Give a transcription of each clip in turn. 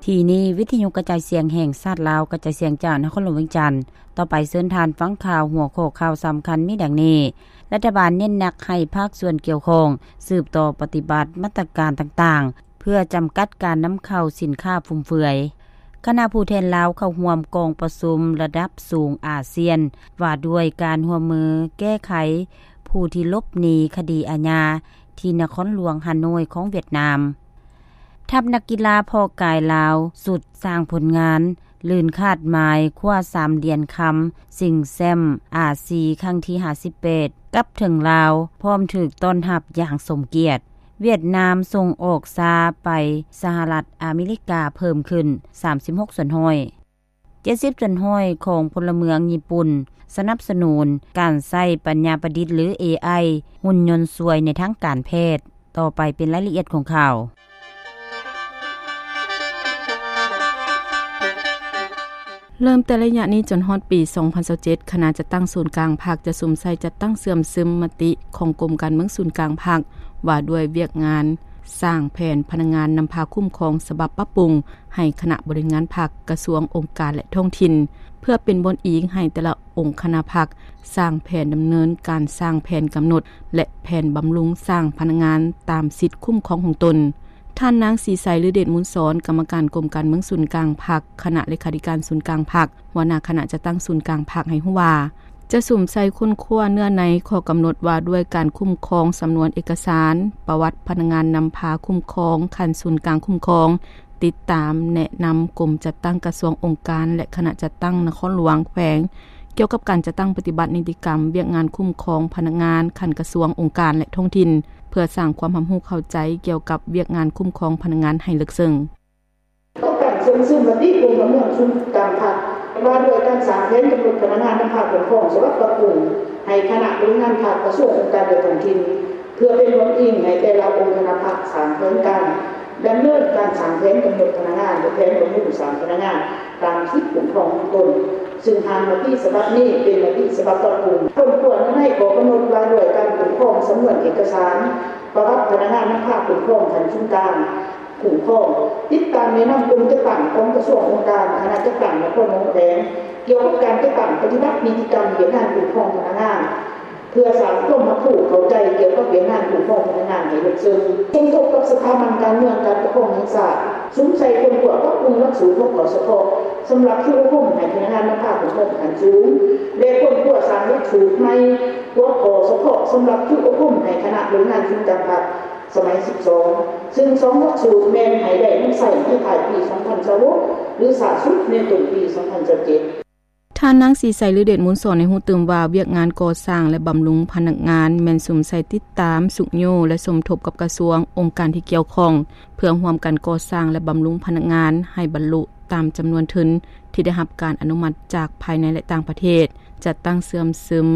ທີ່ນີ້ ວິທະຍຸກະຈາຍສຽງແຫ່ງຊາດລາວ ກະຈາຍສຽງຈາກນະຄອນຫຼວງວຽງຈັນ. ຕໍ່ໄປເຊີນທ່ານຟັງຂ່າວ ຫົວຂໍ້ຂ່າວສຳຄັນມີດັ່ງນີ້: ລັດຖະບານເນັ້ນໜັກໃຫ້ພາກສ່ວນກ່ຽວຂ້ອງສືບຕໍ່ປະຕິບັດມາດຕະການຕ່າງໆ ເພື່ອຈຳກັດການນຳເຂົ້າສິນຄ້າຟຸມເຟືອຍ. ຄະນະຜູ້ແທນລາວເຂົ້າຮ່ວມກອງປະຊຸມລະດັບສູງອາຊຽນ ວ່າດ້ວຍການຮ່ວມມືແກ້ໄຂຜູ້ທີ່ຫຼົບໜີຄະດີອາຍາ ທີ່ນະຄອນຫຼວງຮາໂນ້ຍຂອງຫວຽດນາມ. ທັບນັກກິລາເພາະກາຍລາວ ຊຸດສ້າງຜົນງານ ລື່ນຄາດໝາຍຄວ້າສາມຫຼຽນຄຳ ຊິງແຊ້ມອາຊີຄັ້ງທີຫ້າສິບແປດ ກັບເຖິງລາວ ພ້ອມຖືກຕ້ອນຮັບຢ່າງສົມກຽດ. ຫວຽດນາມສົ່ງອອກຊາໄປສະຫະລັດອາເມລິກາເພີ່ມຂຶ້ນສາມສິບຫົກສ່ວນຮ້ອຍ. ເຈັດສິບສ່ວນຮ້ອຍຂອງພົນລະເມືອງຍີ່ປຸ່ນສະໜັບສະໜູນການໃຊ້ປັນຍາປະດິດ ຫຼື ເອໄອ ຫຸ່ນຍົນຊ່ວຍໃນທາງການແພດ. ຕໍ່ໄປເປັນລາຍລະອຽດຂອງຂ່າວ. ເລີ່ມແຕ່ໄລຍະນີ້ຈົນຮອດປີສອງພັນຊາວເຈັດ ຄະນະຈັດຕັ້ງສູນກາງພັກຈະສຸມໃສ່ຈັດຕັ້ງເຊື່ອມຊຶມມະຕິຂອງກົມການເມືອງສູນກາງພັກ ວ່າດ້ວຍວຽກງານສ້າງແຜນພະນັກງານນຳພາຄຸ້ມຄອງສະບັບປັບປຸງ ໃຫ້ຄະນະບໍລິຫານງານພັກ, ກະຊວງ, ອົງການ ແລະ ທ້ອງຖິ່ນ ເພື່ອເປັນບ່ອນອີງໃຫ້ແຕ່ລະອົງຄະນະພັກສ້າງແຜນດຳເນີນການ, ສ້າງແຜນກຳນົດ ແລະ ແຜນບຳລຸງສ້າງພະນັກງານຕາມສິດຄຸ້ມຄອງຂອງຕົນ. ທ່ານນາງ ສີໄຊ ລືເດດມູນສອນ ກຳມະການກົມການເມືອງສູນກາງພັກ, ຄະນະເລຂາທິການສູນກາງພັກ, ຫົວໜ້າຄະນະຈັດຕັ້ງສູນກາງພັກ ໃຫ້ຮູ້ວ່າ ຈະສຸມໃສ່ຄົ້ນຄວ້າເນື້ອໃນຂໍ້ກຳນົດວ່າດ້ວຍການຄຸ້ມຄອງສຳນວນເອກະສານ, ປະຫວັດພະນັກງານນຳພາຄຸ້ມຄອງ, ຂັ້ນສູນກາງຄຸ້ມຄອງ, ຕິດຕາມ, ແນະນຳກົມຈັດຕັ້ງກະຊວງ, ອົງການ ແລະ ຄະນະຈັດຕັ້ງນະຄອນຫຼວງ, ແຂວງ ກ່ຽວກັບການຈັດຕັ້ງປະຕິບັດນິຕິກຳວຽກງານຄຸ້ມຄອງພະນັກງານຂັ້ນກະຊວງ, ອົງການ ແລະ ທ້ອງຖິ່ນ ເພື່ອສ້າງຄວາມຮັບຮູ້ເຂົ້າໃຈກ່ຽວກັບວຽກງານຄຸ້ມຄອງພະນັກງານໃຫ້ເລິກເຊິ່ງ. ຕ້ອງການເຊື່ອມຊຶມມະຕິກົມການເມືອງສູນກາງພັກ ວ່າດ້ວຍການສ້າງແຜນກຳນົດພະນັກງານນຳພາຄຸ້ມຄອງສະບັບປັບປຸງ ໃຫ້ຄະນະບໍລິຫານພັກ, ກະຊວງ, ອົງການ ແລະ ທ້ອງຖິ່ນ ເພື່ອເປັນບ່ອນອີງໃຫ້ແຕ່ລະອົງຄະນະພັກສ້າງແຜນການດຳເນີນການສ້າງແຜນກຳນົດພະນັກງານ ແລະ ແຜນບຳລຸງສ້າງພະນັກງານຕາມສິດຄຸ້ມຄອງຂອງຕົນ, ຊຶ່ງຮ່າງມະຕິສະບັບນີ້ເປັນມະຕິສະບັບປັບປຸງ. ຄົ້ນຄວ້າໃນຂໍ້ກຳນົດວ່າດ້ວຍການຄຸ້ມຄອງສຳນວນເອກະສານ ປະຫວັດພະນັກງານນຳພາຄຸ້ມຄອງຂັ້ນສູນກາງ ຄຸ້ມຄອງ, ຕິດຕາມແນະນຳກົມຈັດຕັ້ງຂອງກະຊວງ, ອົງການ, ຄະນະຈັດຕັ້ງນະຄອນຫຼວງ, ແຂວງ ກ່ຽວກັບການຈັດຕັ້ງປະຕິບັດນິຕິກຳວຽກງານຄຸ້ມຄອງພະນັກງານ ເພື່ອສ້າງຄວາມຮັບຮູ້ເຂົ້າໃຈກ່ຽວກັບວຽກງານຄຸ້ມຄອງພະນັກງານໃຫ້ເລິກເຊິ່ງ, ສົມທົບກັບສະຖາບັນການເມືອງການປົກຄອງແຫ່ງຊາດ, ສຸມໃສ່ຄົ້ນຄວ້າປັບປຸງຫຼັກສູດຫົວຂໍ້ສະເພາະສຳລັບຝຶກອົບຮົມໃຫ້ພະນັກງານນຳພາຄຸ້ມຄອງຂັ້ນສູງ ແລະ ຄົ້ນຄວ້າສ້າງຫຼັກສູດໃໝ່ຫົວຂໍ້ສະເພາະສຳລັບຝຶກອົບຮົມໃຫ້ຄະນະບໍລິຫານສູນກາງພັກ ສະໄໝສິບສອງ ຊຶ່ງສອງຫຼັກສູດແມ່ນໃຫ້ໄດ້ນຳໃຊ້ໃນທ້າຍປີສອງພັນຊາວຫົກ ຫຼື ຊ້າສຸດໃນຕົ້ນປີສອງພັນຊາວເຈັດ. ທ່ານນາງ ສີໄຊ ລືເດດມູນສອນ ໃຫ້ຮູ້ຕື່ມວ່າ ວຽກງານກໍ່ສ້າງ ແລະ ບຳລຸງພະນັກງານ ແມ່ນສຸມໃສ່ຕິດຕາມ, ຊຸກຍູ້ ແລະ ສົມທົບກັບກະຊວງ, ອົງການທີ່ກ່ຽວຂ້ອງ ເພື່ອຮ່ວມກັນກໍ່ສ້າງ ແລະ ບຳລຸງພະນັກງານໃຫ້ບັນລຸຕາມຈຳນວນທຶນທີ່ໄດ້ຮັບການອະນຸມັດຈາກພາຍໃນ ແລະ ຕ່າງປະເທດ, ຈັດຕັ້ງເຊື່ອມຊຶມ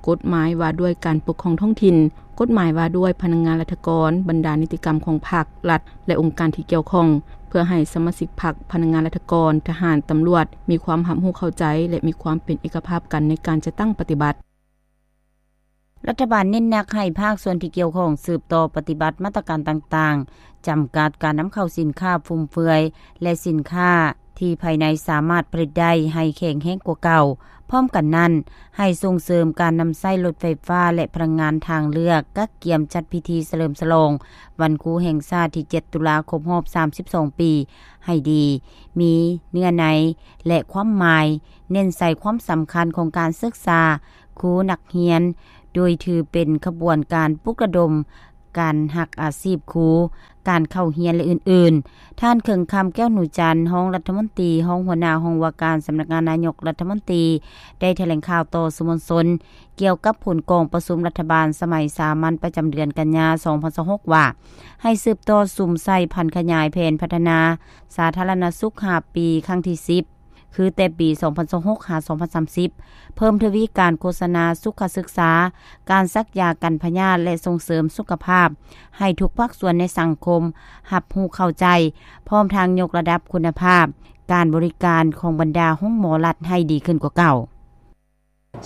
ກົດໝາຍວ່າດ້ວຍການປົກຄອງທ້ອງຖິ່ນ, ກົດໝາຍວ່າດ້ວຍພະນັກງານລັດຖະກອນ, ບັນດານິຕິກຳຂອງພັກ, ລັດ ແລະ ອົງການທີ່ກ່ຽວຂ້ອງ ເພື່ອໃຫ້ສະມາຊິກພັກ, ພະນັກງານລັດຖະກອນ, ທະຫານ, ຕຳຫຼວດ ມີຄວາມຮັບຮູ້ເຂົ້າໃຈ ແລະ ມີຄວາມເປັນເອກະພາບກັນໃນການຈັດຕັ້ງປະຕິບັດ. ລັດຖະບານເນັ້ນໜັກໃຫ້ພາກສ່ວນທີ່ກ່ຽວຂ້ອງສືບຕໍ່ປະຕິບັດມາດຕະການຕ່າງໆ ຈຳກັດການນຳເຂົ້າສິນຄ້າຟຸມເຟືອຍ ແລະ ສິນຄ້າທີ່ພາຍໃນສາມາດຜະລິດໄດ້ໃຫ້ແຂງແຮງກວ່າເກົ່າ. ພ້ອມກັນນັ້ນ, ໃຫ້ສົ່ງເສີມການນຳໃຊ້ລົດໄຟຟ້າ ແລະ ພະລັງງານທາງເລືອກ, ກະກຽມຈັດພິທີສະເຫຼີມສະຫຼອງວັນຄູແຫ່ງຊາດທີເຈັດ ຕຸລາ ຄົບຮອບສາມສິບສອງປີໃຫ້ດີ, ມີເນື້ອໃນ ແລະ ຄວາມໝາຍ, ເນັ້ນໃສ່ຄວາມສຳຄັນຂອງການສຶກສາຄູ, ນັກຮຽນ, ໂດຍຖືເປັນຂະບວນການປຸກລະດົມ ການຮັກອາຊີບຄູ, ການເຂົ້າຮຽນ ແລະ ອື່ນໆ. ທ່ານ ເຄິ່ງຄຳ ແກ້ວໜູຈັນ ຮອງລັດຖະມົນຕີ, ຮອງຫົວໜ້າຫ້ອງວ່າການສຳນັກງານນາຍົກລັດຖະມົນຕີ ໄດ້ຖະແຫຼງຂ່າວຕໍ່ສື່ມວນຊົນ ກ່ຽວກັບຜົນກອງປະຊຸມລັດຖະບານສະໄໝສາມັນປະຈຳເດືອນກັນຍາ ສອງພັນຊາວຫົກ ວ່າ ໃຫ້ສືບຕໍ່ສຸມໃສ່ຜັນຂະຫຍາຍແຜນພັດທະນາສາທາລະນະສຸກຫ້າປີ ຄັ້ງທີສິບ ຄືແຕ່ປີສອງພັນຊາວຫົກ ຫາ ສອງພັນສາມສິບ ເພີ່ມທະວີການໂຄສະນາສຸຂະສຶກສາ, ການສັກຢາກັນພະຍາດ ແລະ ສົ່ງເສີມສຸຂະພາບ ໃຫ້ທຸກພາກສ່ວນໃນສັງຄົມຮັບຮູ້ເຂົ້າໃຈ, ພ້ອມທັງຍົກລະດັບຄຸນນະພາບການບໍລິການຂອງບັນດາໂຮງໝໍລັດໃຫ້ດີຂຶ້ນກວ່າເກົ່າ.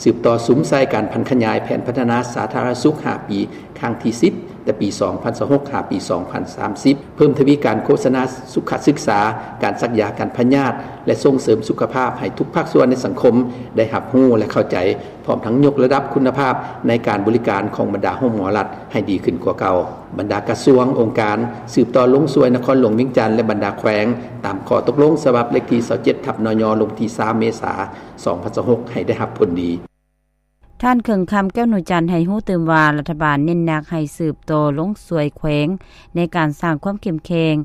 ສືບຕໍ່ສຸມໃສ່ການຜັນຂະຫຍາຍແຜນພັດທະນາສາທາລະນະສຸກຫ້າປີ ຄັ້ງທີສິບ ແຕ່ປີສອງພັນຊາວຫົກ ຫາປີສອງພັນສາມສິບ ເພີ່ມທະວີການໂຄສະນາສຸຂະສຶກສາ, ການສັກຢາກັນພະຍາດ ແລະ ສົ່ງເສີມສຸຂະພາບໃຫ້ທຸກພາກສ່ວນໃນສັງຄົມໄດ້ຮັບຮູ້ ແລະ ເຂົ້າໃຈ, ພ້ອມທັງຍົກລະດັບຄຸນນະພາບໃນການບໍລິການຂອງບັນດາໂຮງໝໍລັດໃຫ້ດີຂຶ້ນກວ່າເກົ່າ. ບັນດາກະຊວງ, ອົງການ ສືບຕໍ່ລົງຊ່ວຍນະຄອນຫຼວງວຽງຈັນ ແລະ ບັນດາແຂວງ ຕາມຂໍ້ຕົກລົງສະບັບເລກທີຊາວເຈັດ ທັບ ນຍ ລົງວັນທີສາມ ເມສາ ສອງພັນຊາວຫົກ ໃຫ້ໄດ້ຮັບຜົນດີ. ທ່ານ ເຄິ່ງຄຳ ແກ້ວໜູຈັນ ໃຫ້ຮູ້ຕື່ມວ່າ ລັດຖະບານເນັ້ນໜັກໃຫ້ສືບຕໍ່ລົງຊ່ວຍແຂວງໃນການສ້າງຄວາມເຂັ້ມແຂງ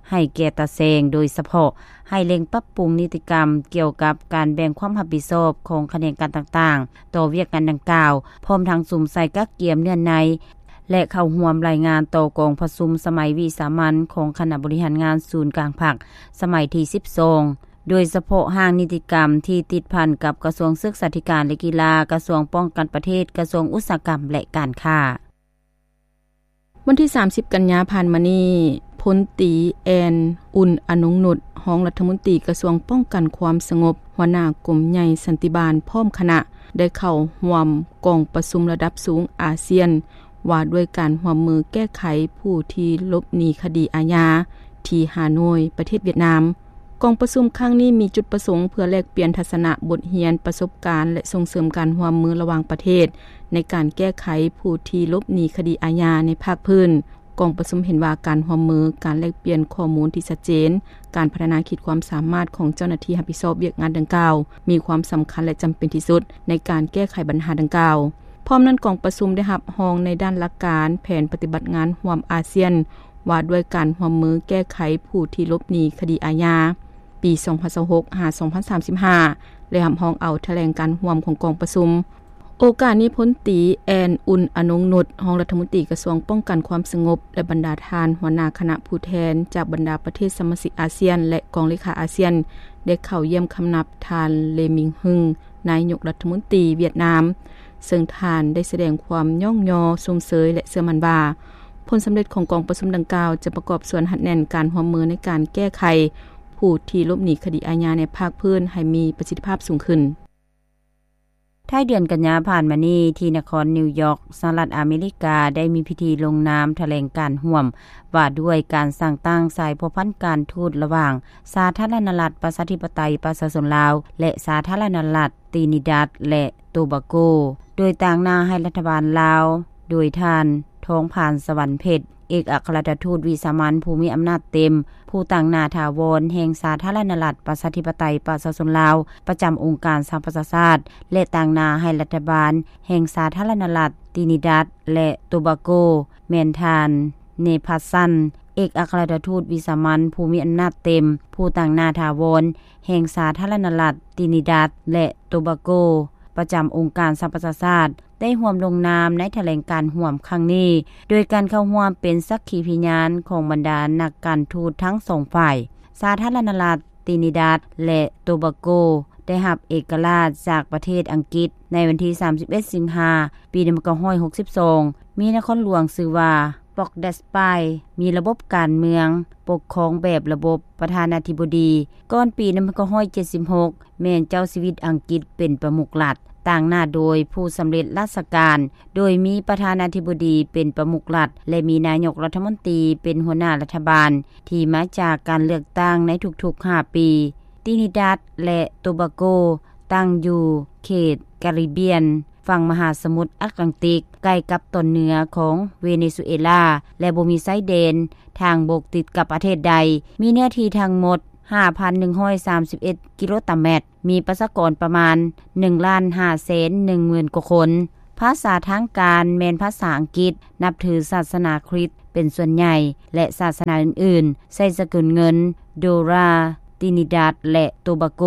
ໃຫ້ແກ່ຕາແສງ, ໂດຍສະເພາະໃຫ້ເລັ່ງປັບປຸງນິຕິກຳກ່ຽວກັບການແບ່ງຄວາມຮັບຜິດຊອບຂອງຂະແໜງການຕ່າງໆ ຕໍ່ວຽກງານດັ່ງກ່າວ, ພ້ອມທັງສຸມໃສ່ກະກຽມເນື້ອໃນ ແລະ ເຂົ້າຮ່ວມລາຍງານຕໍ່ກອງປະຊຸມສະໄໝວິສາມັນຂອງຄະນະບໍລິຫານງານສູນກາງພັກ ສະໄໝທີສິບສອງ ໂດຍສະເພາະຮ່າງນິຕິກຳທີ່ຕິດພັນກັບກະຊວງສຶກສາທິການ ແລະ ກິລາ, ກະຊວງປ້ອງກັນປະເທດ, ກະຊວງອຸດສາຫະກຳ ແລະ ການຄ້າ. ວັນທີສາມສິບ ກັນຍາຜ່ານມານີ້, ພົນຕີ ແອນ ອຸ່ນອະນົງນຸດ ຮອງລັດຖະມົນຕີກະຊວງປ້ອງກັນຄວາມສະຫງົບ, ຫົວໜ້າກົມໃຫຍ່ສັນຕິບານ ພ້ອມຄະນະ ໄດ້ເຂົ້າຮ່ວມກອງປະຊຸມລະດັບສູງອາຊຽນ ວ່າດ້ວຍການຮ່ວມມືແກ້ໄຂຜູ້ທີ່ຫຼົບໜີຄະດີອາຍາ ທີ່ຮາໂນຍ ປະເທດຫວຽດນາມ. ກອງປະຊຸມຄັ້ງນີ້ມີຈຸດປະສົງເພື່ອແລກປ່ຽນທັດສະນະ, ບົດຮຽນ, ປະສົບການ ແລະ ສົ່ງເສີມການຮ່ວມມືລະຫວ່າງປະເທດ ໃນການແກ້ໄຂຜູ້ທີ່ຫຼົບໜີຄະດີອາຍາໃນພາກພື້ນ. ກອງປະຊຸມເຫັນວ່າການຮ່ວມມື, ການແລກປ່ຽນຂໍ້ມູນທີ່ຊັດເຈນ, ການພັດທະນາຂີດຄວາມສາມາດຂອງເຈົ້າໜ້າທີ່ຮັບຜິດຊອບວຽກງານດັ່ງກ່າວ ມີຄວາມສຳຄັນ ແລະ ຈຳເປັນທີ່ສຸດໃນການແກ້ໄຂບັນຫາດັ່ງກ່າວ. ພ້ອມນັ້ນ, ກອງປະຊຸມໄດ້ຮັບຮອງໃນດ້ານຫຼັກການແຜນປະຕິບັດງານຮ່ວມອາຊຽນ ວ່າດ້ວຍການຮ່ວມມືແກ້ໄຂຜູ້ທີ່ຫຼົບໜີຄະດີອາຍາ ປີສອງພັນຊາວຫົກ ຫາ ສອງພັນສາມສິບຫ້າ ແລະ ຮັບຮອງເອົາຖະແຫຼງການຮ່ວມຂອງກອງປະຊຸມ. ໂອກາດນີ້, ພົນຕີ ແອນ ອຸ່ນອະນົງນຸດ ຮອງລັດຖະມົນຕີກະຊວງປ້ອງກັນຄວາມສະຫງົບ ແລະ ບັນດາທ່ານຫົວໜ້າຄະນະຜູ້ແທນຈາກບັນດາປະເທດສະມາຊິກອາຊຽນ ແລະ ກອງເລຂາອາຊຽນ ໄດ້ເຂົ້າຢ້ຽມຄຳນັບທ່ານ ເລມິງ ຮຶງ ນາຍົກລັດຖະມົນຕີຫວຽດນາມ, ເຊິ່ງທ່ານໄດ້ສະແດງຄວາມຍ້ອງຍໍຊົມເຊີຍ ແລະ ເຊື່ອໝັ້ນວ່າ ຜົນສຳເລັດຂອງກອງປະຊຸມດັ່ງກ່າວ ຈະປະກອບສ່ວນຮັດແໜ້ນການຮ່ວມມືໃນການແກ້ໄຂຜູ້ທີ່ຫຼົບໜີຄະດີອາຍາໃນພາກພື້ນໃຫ້ມີປະສິດທິພາບສູງຂຶ້ນ. ທ້າຍເດືອນກັນຍາຜ່ານມານີ້, ທີ່ນະຄອນນິວຢອກ, ສະຫະລັດອາເມລິກາ ໄດ້ມີພິທີລົງນາມຖະແຫຼງການຮ່ວມ ວ່າດ້ວຍການສ້າງຕັ້ງສາຍພົວພັນການທູດລະຫວ່າງ ສາທາລະນະລັດ ປະຊາທິປະໄຕ ປະຊາຊົນລາວ ແລະ ສາທາລະນະລັດ ຕີນີດັດ ແລະ ໂຕບາໂກ, ໂດຍຕາງໜ້າໃຫ້ລັດຖະບານລາວ ໂດຍທ່ານ ທອງຜານ ສະຫວັນເພັດ ເອກອັກຄະລັດຖະທູດວິສາມັນຜູ້ມີອຳນາດເຕັມ, ຜູ້ຕາງໜ້າຖາວອນແຫ່ງສາທາລະນະລັດ ປະຊາທິປະໄຕ ປະຊາຊົນລາວ ປະຈຳອົງການສະຫະປະຊາຊາດ ແລະ ຕາງໜ້າໃຫ້ລັດຖະບານແຫ່ງສາທາລະນະລັດ ຕີນີດັດ ແລະ ໂຕບາໂກ ແມ່ນທ່ານ ເນພັດຊັນ ເອກອັກຄະລັດຖະທູດວິສາມັນຜູ້ມີອຳນາດເຕັມ, ຜູ້ຕາງໜ້າຖາວອນແຫ່ງສາທາລະນະລັດ ຕີນີດັດ ແລະ ໂຕບາໂກ ປະຈຳອົງການສະຫະປະຊາຊາດ ໄດ້ຮ່ວມລົງນາມໃນຖະແຫຼງການຮ່ວມຄັ້ງນີ້ ໂດຍການເຂົ້າຮ່ວມເປັນສັກຂີພິຍານຂອງບັນດານັກການທູດທັງສອງຝ່າຍ. ສາທາລະນະລັດ ຕີນີດັດ ແລະ ໂຕບາໂກ ໄດ້ຮັບເອກະລາດຈາກປະເທດອັງກິດໃນວັນທີສາມສິບເອັດ ສິງຫາ ປີໜຶ່ງພັນເກົ້າຮ້ອຍຫົກສິບສອງ, ມີນະຄອນຫຼວງຊື່ວ່າ ປອກແດສປາຍ, ມີລະບົບການເມືອງປົກຄອງແບບລະບົບປະທານາທິບໍດີ. ກ່ອນປີໜຶ່ງພັນເກົ້າຮ້ອຍເຈັດສິບຫົກ ແມ່ນເຈົ້າຊີວິດອັງກິດເປັນປະມຸກລັດ, ຕາງໜ້າໂດຍຜູ້ສຳເລັດລາຊະການ, ໂດຍມີປະທານາທິບໍດີເປັນປະມຸກລັດ ແລະ ມີນາຍົກລັດຖະມົນຕີເປັນຫົວໜ້າລັດຖະບານ ທີ່ມາຈາກການເລືອກຕັ້ງໃນທຸກໆຫ້າປີ. ຕີນີດັດ ແລະ ໂຕບາໂກ ຕັ້ງຢູ່ເຂດກາຣິບຽນ ຝັ່ງມະຫາສະໝຸດອັດແລນຕິກ, ໃກ້ກັບຕອນເໜືອຂອງເວເນຊູເອລາ ແລະ ບໍ່ມີຊາຍແດນທາງບົກຕິດກັບປະເທດໃດ. ມີເນື້ອທີ່ທັງໝົດ ຫ້າພັນໜຶ່ງຮ້ອຍສາມສິບເອັດ ກິໂລຕາແມັດ, ມີປະຊາກອນປະມານ ໜຶ່ງລ້ານຫ້າແສນໜຶ່ງໝື່ນກວ່າຄົນ. ພາສາທາງການແມ່ນພາສາອັງກິດ, ນັບຖືສາສະໜາຄຣິດເປັນສ່ວນໃຫຍ່ ແລະ ສາສະໜາອື່ນໆ ໃຊ້ສະກຸນເງິນໂດລາ. ຕີນີດັດ ແລະ ໂຕບາໂກ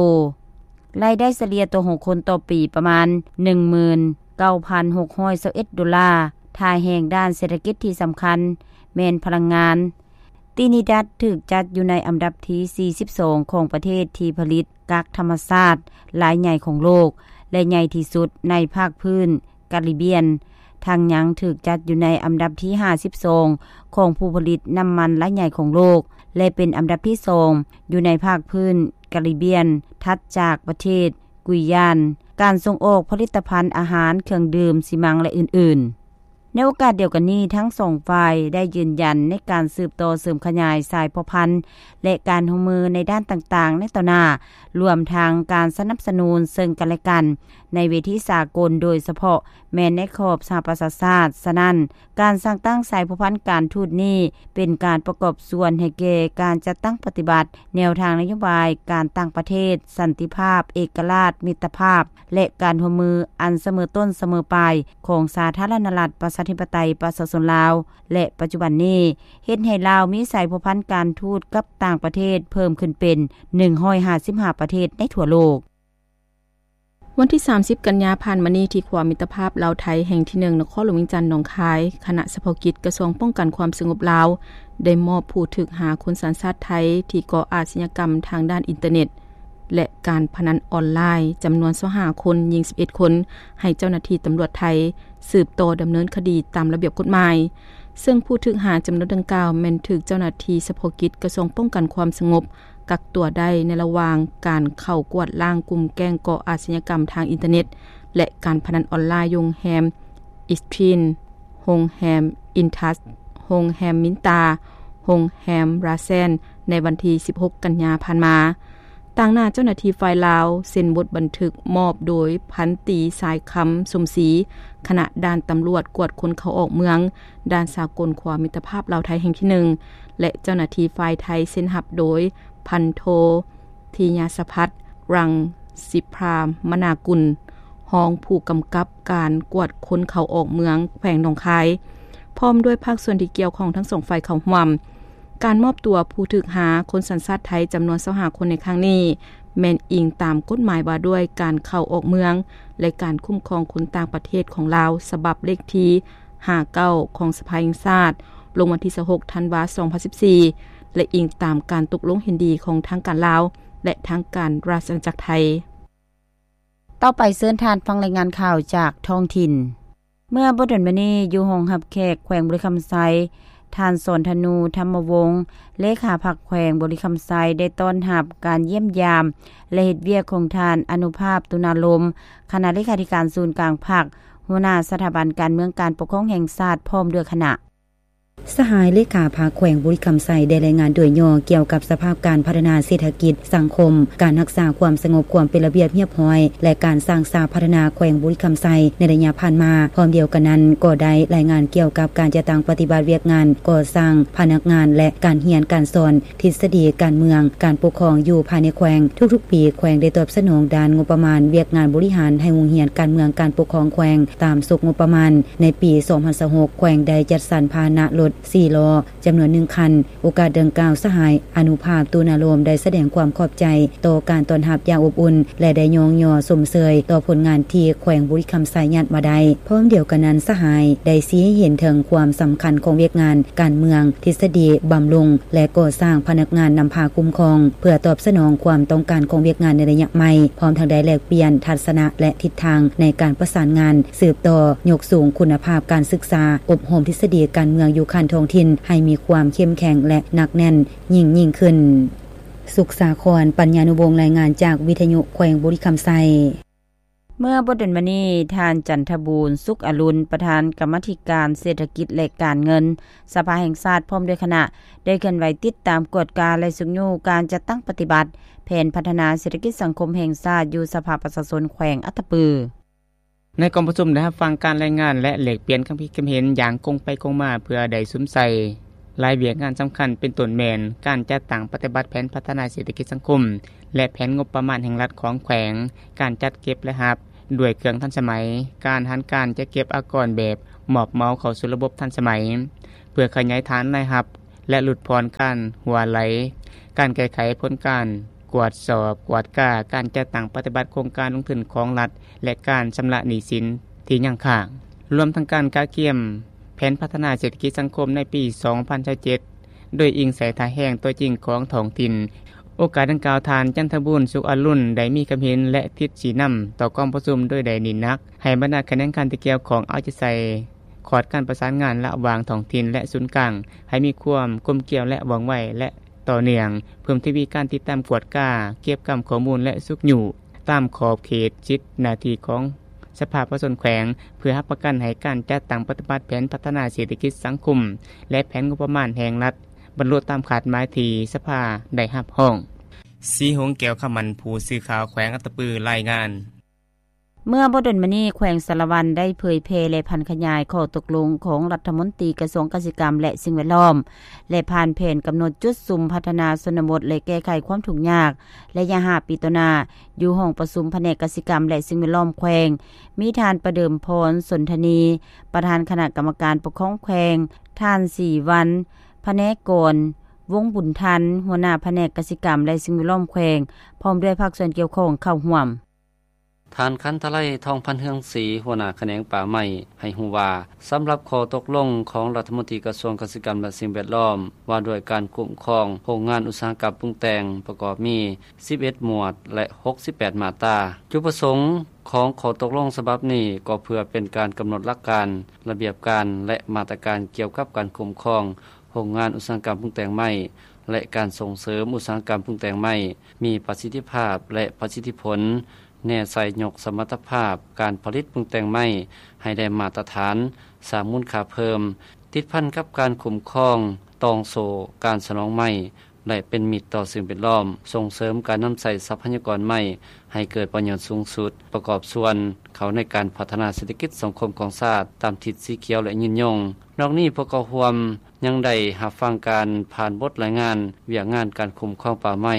ລາຍໄດ້ສະເລ່ຍຕໍ່ຫົວຄົນຕໍ່ປີປະມານ ໜຶ່ງໝື່ນເກົ້າພັນຫົກຮ້ອຍຊາວເອັດ ໂດລາ. ທ່າແຮງດ້ານເສດຖະກິດທີ່ສຳຄັນແມ່ນພະລັງງານ. ຕີນີດັດຖືກຈັດຢູ່ໃນອັນດັບທີສີ່ສິບສອງຂອງປະເທດທີ່ຜະລິດກັກທຳມະຊາດລາຍໃຫຍ່ຂອງໂລກ ແລະ ໃຫຍ່ທີ່ສຸດໃນພາກພື້ນກາຣິບຽນ, ທັງຍັງຖືກຈັດຢູ່ໃນອັນດັບທີຫ້າສິບສອງຂອງຜູ້ຜະລິດນ້ຳມັນລາຍໃຫຍ່ຂອງໂລກ ແລະ ເປັນອັນດັບທີສອງຢູ່ໃນພາກພື້ນກາຣິບຽນ, ຖັດຈາກປະເທດກຸຍຢານ. ການສົ່ງອອກຜະລິດຕະພັນອາຫານ, ເຄື່ອງດື່ມ, ຊີມັງ ແລະ ອື່ນໆ. ໃນໂອກາດດຽວກັນນີ້, ທັງສອງຝ່າຍໄດ້ຢືນຢັນໃນການສືບຕໍ່ເສີມຂະຫຍາຍສາຍພົວພັນ ແລະ ການຮ່ວມມືໃນດ້ານຕ່າງໆໃນຕໍ່ໜ້າ, ລວມທັງການສະໜັບສະໜູນເຊິ່ງກັນແລະກັນໃນເວທີສາກົນ, ໂດຍສະເພາະແມ່ນໃນຂອບສະຫະປະຊາຊາດ. ສະນັ້ນ, ການສ້າງຕັ້ງສາຍພົວພັນການທູດນີ້ ເປັນການປະກອບສ່ວນໃຫ້ແກ່ການຈັດຕັ້ງປະຕິບັດແນວທາງນະໂຍບາຍການຕ່າງປະເທດ, ສັນຕິພາບ, ເອກະລາດ, ມິດຕະພາບ ແລະ ການຮ່ວມມືອັນສະເໝີຕົ້ນສະເໝີປາຍຂອງສາທາລະນະລັດ ປະຊາທິປະໄຕ ປະຊາຊົນລາວ ແລະ ປັດຈຸບັນນີ້ ເຮັດໃຫ້ລາວມີສາຍພົວພັນການທູດກັບຕ່າງປະເທດເພີ່ມຂຶ້ນເປັນ ໜຶ່ງຮ້ອຍຫ້າສິບຫ້າ ປະເທດໃນທົ່ວໂລກ. ວັນທີສາມສິບ ກັນຍາຜ່ານມານີ້ ທີ່ຂົວມິດຕະພາບລາວໄທແຫ່ງທີ ໜຶ່ງ ນະຄອນຫຼວງວຽງຈັນ ໜອງຄາຍ, ຄະນະສະເພາະກິດກະຊວງປ້ອງກັນຄວາມສະຫງົບລາວ ໄດ້ມອບຜູ້ຖືກຫາຄົນສັນຊາດໄທ ທີ່ກໍ່ອາຊະຍາກຳທາງດ້ານອິນເຕີເນັດ ແລະ ການພະນັນອອນລາຍ ຈຳນວນ ຊາວຫ້າ ຄົນ, ຍິງ ສິບເອັດ ຄົນ ໃຫ້ເຈົ້າໜ້າທີ່ຕຳຫຼວດໄທ ສືບຕໍ່ດຳເນີນຄະດີຕາມລະບຽບກົດໝາຍ. ເຊິ່ງຜູ້ຖືກຫາຈຳນວນດັ່ງກ່າວ ແມ່ນຖືກເຈົ້າໜ້າທີ່ສະເພາະກິດກະຊວງປ້ອງກັນຄວາມສະຫງົບ ກັກຕົວໄດ້ໃນລະຫວ່າງການເຂົ້າກວດລ້າງກຸ່ມແກ້ງກໍ່ອາຊະຍາກຳທາງອິນເຕີເນັດ ແລະ ການພະນັນອອນລາຍ ຢູ່ໂຮງແຮມ Ritz-Carlton, ໂຮງແຮມ Intouch, ໂຮງແຮມ Minter, ໂຮງແຮມ Radisson ໃນວັນທີ ສິບຫົກ ກັນຍາຜ່ານມາ. ຕາງໜ້າເຈົ້າໜ້າທີ່ຝ່າຍລາວ ເຊັນບົດບັນທຶກມອບໂດຍ ພັນຕີ ສາຍຄຳ ສົມສີ, ຄະນະດ່ານຕຳຫຼວດກວດຄົນເຂົ້າອອກເມືອງ ດ່ານສາກົນຂົວມິດຕະພາບລາວໄທແຫ່ງທີ ໜຶ່ງ ແລະ ເຈົ້າໜ້າທີ່ຝ່າຍໄທ ເຊັນຮັບໂດຍ ພັນໂທ ທິຍາສະພັດ ລັງສິພາມະນາກຸນ, ຮອງຜູ້ກຳກັບການກວດຄົນເຂົ້າອອກເມືອງແຂວງໜອງຄາຍ, ພ້ອມດ້ວຍພາກສ່ວນທີ່ກ່ຽວຂ້ອງທັງສອງຝ່າຍເຂົ້າຮ່ວມ. ການມອບຕົວຜູ້ຖືກຫາຄົນສັນຊາດໄທຈຳນວນ ຊາວຫ້າ ຄົນໃນຄັ້ງນີ້ ແມ່ນອີງຕາມກົດໝາຍວ່າດ້ວຍການເຂົ້າອອກເມືອງ ແລະ ການຄຸ້ມຄອງຄົນຕ່າງປະເທດຂອງລາວ ສະບັບເລກທີ ຫ້າເກົ້າ ຂອງສະພາແຫ່ງຊາດ ລົງວັນທີ ຊາວຫົກ ທັນວາ ສອງພັນສິບສີ່ ແລະ ອີງຕາມການຕົກລົງເຫັນດີຂອງທາງການລາວ ແລະ ທາງການລາຊະອານາຈັກໄທ. ຕໍ່ໄປເຊີນທ່ານຟັງລາຍງານຂ່າວຈາກທ້ອງຖິ່ນ. ເມື່ອບໍ່ດົນມານີ້, ຢູ່ຫ້ອງຮັບແຂກແຂວງບໍລິຄຳໄຊ, ທ່ານ ສອນທະນູ ທຳມະວົງ ເລຂາພັກແຂວງບໍລິຄຳໄຊ ໄດ້ຕ້ອນຮັບການຢ້ຽມຢາມ ແລະ ເຮັດວຽກຂອງທ່ານ ອະນຸພາບ ຕຸນາລົມ ຄະນະເລຂາທິການສູນກາງພັກ, ຫົວໜ້າສະຖາບັນການເມືອງການປົກຄອງແຫ່ງຊາດ ພ້ອມດ້ວຍຄະນະ. ສະຫາຍເລຂາພັກແຂວງບໍລິຄຳໄຊ ໄດ້ລາຍງານໂດຍຫຍໍ້ກ່ຽວກັບສະພາບການພັດທະນາເສດຖະກິດ, ສັງຄົມ, ການຮັກສາຄວາມສະຫງົບ, ຄວາມເປັນລະບຽບຮຽບຮ້ອຍ ແລະ ການສ້າງສາພັດທະນາແຂວງບໍລິຄຳໄຊໃນໄລຍະຜ່ານມາ. ພ້ອມດຽວກັນນັ້ນ, ກໍໄດ້ລາຍງານກ່ຽວກັບການຈັດຕັ້ງປະຕິບັດວຽກງານກໍ່ສ້າງພະນັກງານ ແລະ ການຮຽນການສອນ, ທິດສະດີການເມືອງ, ການປົກຄອງຢູ່ພາຍໃນແຂວງ. ທຸກໆປີ, ແຂວງໄດ້ຕອບສະໜອງດ້ານງົບປະມານວຽກງານບໍລິຫານໃຫ້ໂຮງຮຽນການເມືອງການປົກຄອງແຂວງ ຕາມສົກງົບປະມານ. ໃນປີສອງພັນຊາວຫົກ ແຂວງໄດ້ຈັດສັນພາຫະນະລົດສີ່ລໍ້ ຈຳນວນໜຶ່ງຄັນ. ໂອກາດດັ່ງກ່າວ, ສະຫາຍ ອະນຸພາບ ຕຸນາລົມ ໄດ້ສະແດງຄວາມຂອບໃຈຕໍ່ການຕ້ອນຮັບຢ່າງອົບອຸ່ນ ແລະ ໄດ້ຍ້ອງຍໍຊົມເຊີຍຕໍ່ຜົນງານທີ່ແຂວງບໍລິຄຳໄຊຍາດມາໄດ້. ພ້ອມດຽວກັນນັ້ນ, ສະຫາຍໄດ້ຊີ້ໃຫ້ເຫັນເຖິງຄວາມສຳຄັນຂອງວຽກງານການເມືອງ, ທິດສະດີບຳລຸງ ແລະ ກໍ່ສ້າງພະນັກງານນຳພາຄຸ້ມຄອງ ເພື່ອຕອບສະໜອງຄວາມຕ້ອງການຂອງວຽກງານໃນໄລຍະໃໝ່, ພ້ອມທັງໄດ້ແລກປ່ຽນທັດສະນະ ແລະ ທິດທາງໃນການປະສານງານ, ສືບຕໍ່ຍົກສູງຄຸນນະພາບການສຶກສາ, ອົບຮົມທິດສະດີການເມືອງຢູ່ຂັ້ນທ້ອງຖິ່ນໃຫ້ມີຄວາມເຂັ້ມແຂງ ແລະ ໜັກແໜ້ນຍິ່ງໆຂຶ້ນ. ສຸກສາຄອນ ປັນຍານຸວົງ ລາຍງານຈາກວິທະຍຸແຂວງບໍລິຄຳໄຊ. ເມື່ອບໍ່ດົນມານີ້, ທ່ານ ຈັນທະບູນ ສຸກອະລຸນ ປະທານກຳມາທິການເສດຖະກິດ ແລະ ການເງິນ ສະພາແຫ່ງຊາດ ພ້ອມດ້ວຍຄະນະ ໄດ້ເຄື່ອນໄຫວຕິດຕາມກວດກາ ແລະ ຊຸກຍູ້ການຈັດຕັ້ງປະຕິບັດແຜນພັດທະນາເສດຖະກິດສັງຄົມແຫ່ງຊາດ ຢູ່ສະພາປະຊາຊົນແຂວງອັດຕະປື. ໃນກອງປະຊຸມໄດ້ຮັບຟັງການລາຍງານ ແລະ ແລກປ່ຽນຄຳຄິດຄຳເຫັນຢ່າງກົງໄປກົງມາ ເພື່ອໄດ້ສຸມໃສ່ຫຼາຍວຽກງານສຳຄັນ ເປັນຕົ້ນແມ່ນການຈັດຕັ້ງປະຕິບັດແຜນພັດທະນາເສດຖະກິດສັງຄົມ ແລະ ແຜນງົບປະມານແຫ່ງລັດຂອງແຂວງ, ການຈັດເກັບລາຍຮັບດ້ວຍເຄື່ອງທັນສະໄໝ, ການຫັນການຈັດເກັບອາກອນແບບມອບເໝົາເຂົ້າສູ່ລະບົບທັນສະໄໝ ເພື່ອຂະຫຍາຍຖານລາຍຮັບ ແລະ ຫຼຸດຜ່ອນການຮົ່ວໄຫຼ, ການແກ້ໄຂຜົນການກວດສອບ, ກວດກາການຈັດຕັ້ງປະຕິບັດໂຄງການລົງທຶນຂອງລັດ ແລະ ການຊຳລະໜີ້ສິນທີ່ຍັງຄ້າງ, ລວມທັງການກະກຽມແຜນພັດທະນາເສດຖະກິດສັງຄົມໃນປີສອງພັນຊາວເຈັດ ໂດຍອີງໃສ່ທ່າແຮງຕົວຈິງຂອງທ້ອງຖິ່ນ. ໂອກາດດັ່ງກ່າວ, ທ່ານ ຈັນທະບູນ ສຸກອະລຸນ ໄດ້ມີຄຳເຫັນ ແລະ ທິດຊີ້ນຳຕໍ່ກອງປະຊຸມ ໂດຍໄດ້ເນັ້ນໜັກໃຫ້ບັນດາຂະແໜງການທີ່ກ່ຽວຂ້ອງເອົາໃຈໃສ່ຂອດການປະສານງານລະຫວ່າງທ້ອງຖິ່ນ ແລະ ສູນກາງ ໃຫ້ມີຄວາມກົມກຽວ ແລະ ວ່ອງໄວ ແລະ ຕໍ່ເນື່ອງ, ເພີ່ມທະວີການຕິດຕາມກວດກາ, ເກັບກຳຂໍ້ມູນ ແລະ ຊຸກຍູ້ຕາມຂອບເຂດສິດໜ້າທີ່ຂອງ ສະພາປະຊາຊົນແຂວງ ເພື່ອຮັບປະກັນໃຫ້ການຈັດຕັ້ງປະຕິບັດແຜນພັດທະນາເສດຖະກິດສັງຄົມ ແລະ ແຜນງົບປະມານແຫ່ງລັດ ບັນລຸຕາມຄາດໝາຍທີ່ສະພາໄດ້ຮັບຮອງ. ສີຫົງ ແກ້ວຄຳໝັ້ນ ຜູ້ສື່ຂ່າວແຂວງອັດຕະປື ລາຍງານ. ເມື່ອບໍ່ດົນມານີ້ ແຂວງສາລະວັນໄດ້ເຜີຍແຜ່ ແລະ ຜັນຂະຫຍາຍຂໍ້ຕົກລົງຂອງລັດຖະມົນຕີກະຊວງກະສິກຳ ແລະ ສິ່ງແວດລ້ອມ ແລະ ຜ່ານແຜນກຳນົດຈຸດສຸມພັດທະນາຊົນນະບົດ ແລະ ແກ້ໄຂຄວາມທຸກຍາກ ໄລຍະຫ້າປີຕໍ່ໜ້າ ຢູ່ຫ້ອງປະຊຸມພະແນກກະສິກຳ ແລະ ສິ່ງແວດລ້ອມແຂວງ, ມີທ່ານປະເດີມພອນ ສົນທະນີ ປະທານຄະນະກຳມະການປົກຄອງແຂວງ, ທ່ານ ສີວັນ ພະແນກອນ ວົງບຸນທັນ ຫົວໜ້າພະແນກກະສິກຳ ແລະ ສິ່ງແວດລ້ອມແຂວງ ພ້ອມດ້ວຍພາກສ່ວນກ່ຽວຂ້ອງເຂົ້າຮ່ວມ. ທ່ານ ຄັນທະໄລ ທອງພັນເຮືອງສີ ຫົວໜ້າຂະແໜງປ່າໄມ້ ໃຫ້ຮູ້ວ່າ ສຳລັບຂໍ້ຕົກລົງຂອງລັດຖະມົນຕີກະຊວງກະສິກຳ ແລະ ສິ່ງແວດລ້ອມ ວ່າດ້ວຍການຄຸ້ມຄອງໂຮງງານອຸດສາຫະກຳປຸງແຕ່ງ ປະກອບມີສິບເອັດໝວດ ແລະ ຫົກສິບແປດມາດຕາ. ຈຸດປະສົງຂອງຂໍ້ຕົກລົງສະບັບນີ້ ກໍເພື່ອເປັນການກຳນົດຫຼັກການ, ລະບຽບການ ແລະ ມາດຕະການກ່ຽວກັບການຄຸ້ມຄອງໂຮງງານອຸດສາຫະກຳປຸງແຕ່ງໄມ້ ແລະ ການສົ່ງເສີມອຸດສາຫະກຳປຸງແຕ່ງໄມ້ ມີປະສິດທິພາບ ແລະ ປະສິດທິຜົນ, ແນໃສ່ຍົກສະມັດຕະພາບການຜະລິດປຸງແຕ່ງໄມ້ໃຫ້ໄດ້ມາດຕະຖານ, ສ້າງມູນຄ່າເພີ່ມ, ຕິດພັນກັບການຄຸ້ມຄອງຕ່ອງໂສ້ການສະໜອງໄມ້ ແລະ ເປັນມິດຕໍ່ສິ່ງແວດລ້ອມ, ສົ່ງເສີມການນຳໃຊ້ຊັບພະຍາກອນໄມ້ໃຫ້ເກີດປະໂຫຍດສູງສຸດ, ປະກອບສ່ວນເຂົ້າໃນການພັດທະນາເສດຖະກິດສັງຄົມຂອງຊາດຕາມທິດສີຂຽວ ແລະ ຍືນຍົງ. ນອກນີ້ ພວກເຂົ້າຮ່ວມຍັງໄດ້ຮັບຟັງການຜ່ານບົດລາຍງານວຽກງານການຄຸ້ມຄອງປ່າໄມ້